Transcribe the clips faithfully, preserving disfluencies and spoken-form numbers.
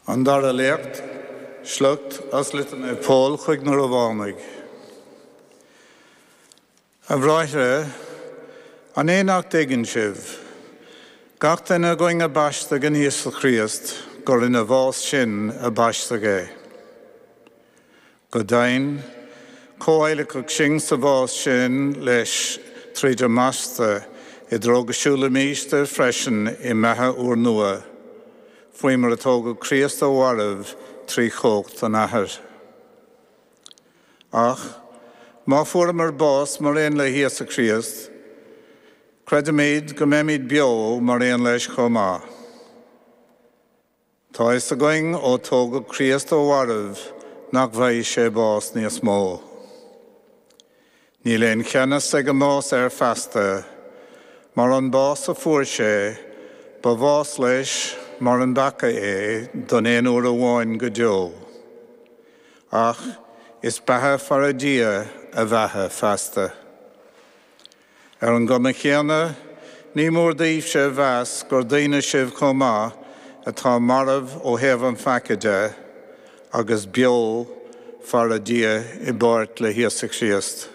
An dara léacht, sliocht as litir Naomh Pól chuig na Rómhánaigh. A bhráithre, an é nach dtuigeann sibh, gach duine againn a baisteadh in Íosa Chríost gur ina bhás sin a baisteadh é. Go deimhin, comhadhlacadh sinn sa bhás sin leis tríd an mbaisteadh i dtreo go siúlfaimis freisin i mbeatha úrnua, faoi mar a tógadh Críost ó mhairbh trí chumhacht an Athar. Ach má fuaireamar bás mar aon le hÍosa Críost, creidimid go mbeimid beo mar aon leis chomh maith. Tá fhios againn ó tógadh Críost ó mhairbh nach bhfaighidh sé bás níos mó. Níl aon cheannas ag an mbás air feasta, mar an bás a fuair sé, ba bhás leis mar an bpeaca é don aon uair amháin go deo. Ach is beatha fara Dia a bheatha feasta. Ar an gcuma chéanna, ní mór daoibhse a mheas gur daoine sibh chomh maith atá marbh ó thaobh an pheaca de, agus beo fara Dia i bpáirt le hÍosa Críost.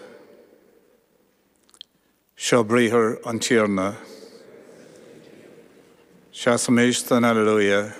Seo briathar an Tiarna. Seasaimis don Alleluia.